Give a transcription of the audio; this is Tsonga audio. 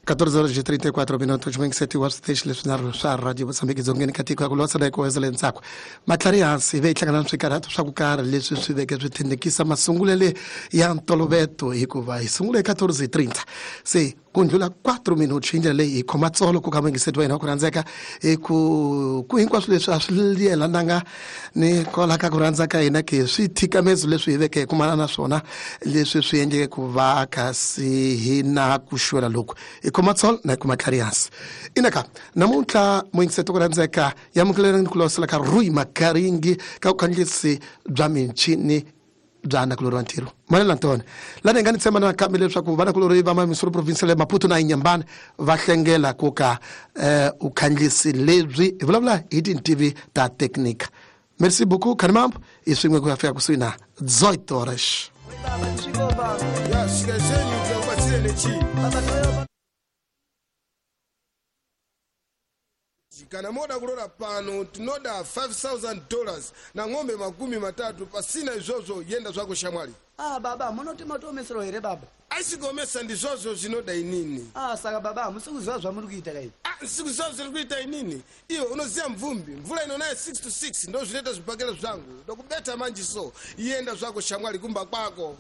14 horas e 34 minutos 27 wa switeshi leswinharhu swa radio Mozambique dzongeni ka tiko ya ku losa na ku wezela ntsako matlhari hansi hi ve hi hlangana na swikarhato swa ku karhi leswi swi veke swi thendekisa masungulele ya ntoloveto hikuva hi sungule hi 14:30 se ku ndlula 4 minutos hi ndlela leyi hi khoma tsolo ku ka muyingiseti wa hina wa ku rhandzeka hi ku ku hinkwaswo leswi a swi yelananga ni kwala ka ku rhandza ka hina ke swithikamezo leswi hi veke hi kumana na swona leswi swi endleke ku va kasi hi na ku xwela loku hi khoma tsolo na hi kuma tlhari hansi inaka namuntlha muyingiseti ku rhandzeka yamukelelani ku losela ka rui makaringi ka vukhandziyisi bya michini bya nakulorhi wa ntirho manela ntone lani hi nga ni tshemba nakambe leswaku vanakulorhi va mamisolo provincial ya Maputo na Inyambani va hlengela ku ka um vukhandziyisi lebyi hi vulavula hi tintivi ta teknika. Merci beaucoup khanimambo hi swin'we ku ya fika kusuhi na 18 horas. Ya shika zenyu tikakupatsire nechi kana moda kulola pano tinoda $5000 na ng'ombe 30. Pasina izvozvo yenda zvako shamwali. Ah baba, munoti matoomesero here baba? Aisigomesa ndizvozvo zvinoda inini. Ah, saka baba hamusi kuziva zvamuri kuita kai? Ah, sikuziva zviri kuita inini. Iwe unoziva mvumbi mvula inonaya 6 to 6 ndo zvinoita zvibhakera zvangu ndokubeta manje, so yenda zvako shamwali kumba kwako.